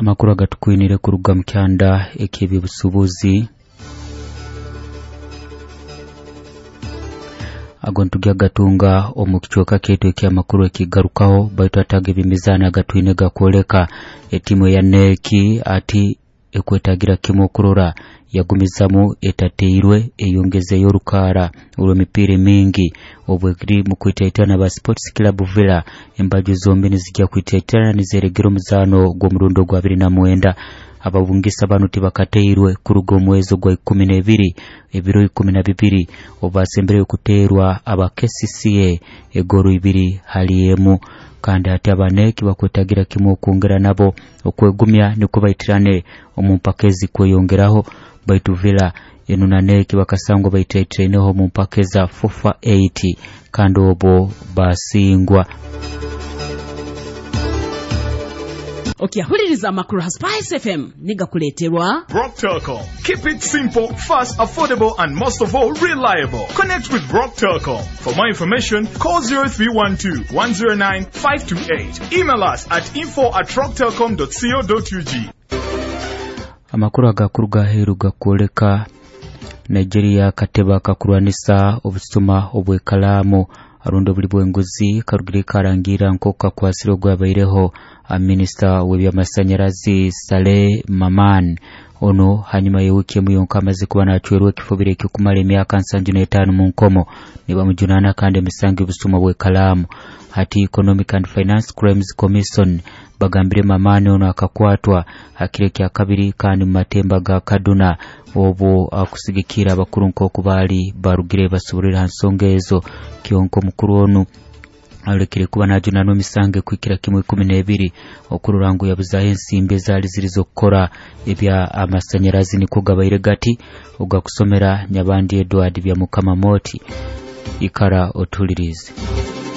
Amakuru agatukwinire kuruga mu kyanda eky'ebyobusuubuzi ago ntujya gatunga omu kicweka kyaitu eky'amakuru ekigarukaho, baitu ataga eby'emizaano agatwine gakwoleka etimu eya neki ati ekwetagira kimu okurora yagumizamu etateirwe eyongezeyo orukaara olw'emipiira emingi obwekiri mu kwitaitana ba Sports Club Villa. Embaju zombi nizijja kwitaitana nizeregera omuzaano gw'omurundi ogwa 29. Ababungisa banu tibakateirwe kuruga omwezi ogwa 12, ebiro 12 obu basembereyo kuteerwa aba KCCA egoru 2-1. Kandi ati abaneki bakwetagira kimu okwongera nabo okwegumya nikwo baitirane omu mpaka ezikweyongeraho, baitu Villa enu na neki bakasangwa baitaitaineho omu mpaka eza FUFA 8 kandi obwo basingwa. Okyahuliriza amakuru ha Spice FM nigakuleeterwa Rock Telcom. Keep it simple, fast, affordable, and most of all, reliable. Connect with Rock Telcom. For more information, call 0312 109 528. Email us at info@rocktelcom.co.ug. Amakuru agakuruga aheeru gakwoleka Nigeria akatebe akakurwanisa obusuma obw'ekalaamu arundi obuli bw'enguzi karugire karangira nk'oku kakwasire ogwabaireho minisita w'ebyamasanyarazi Saleh Maman. Ono hanyuma y'ewiiki emu yonka amaze kuba nacwerwa ekifubiro ekyokumara emyaka 75 mu nkomo, nibamujunaana kandi emisango y'obusuma bw'ekalaamu. Hati Economic and Finance Crimes Commission bagambire Mamani ono akakwatwa hakiro ekya kabiri kandi mu matemba ga Kaduna, obwo akusigikira abakuru nk'oku baali barugire basoborere ha nsonga ezo. Kyonka omukuru onu alekere kuba najunanwa emisango ekwikira kimu 12 okurora ngu yabuzaho ensimbi ezaali ziri z'okukora ebya amasanyarazi. Nikwo gabaire gati ogakusomera Nyabandi Edward Byamukama Moti. Ikara otulirize.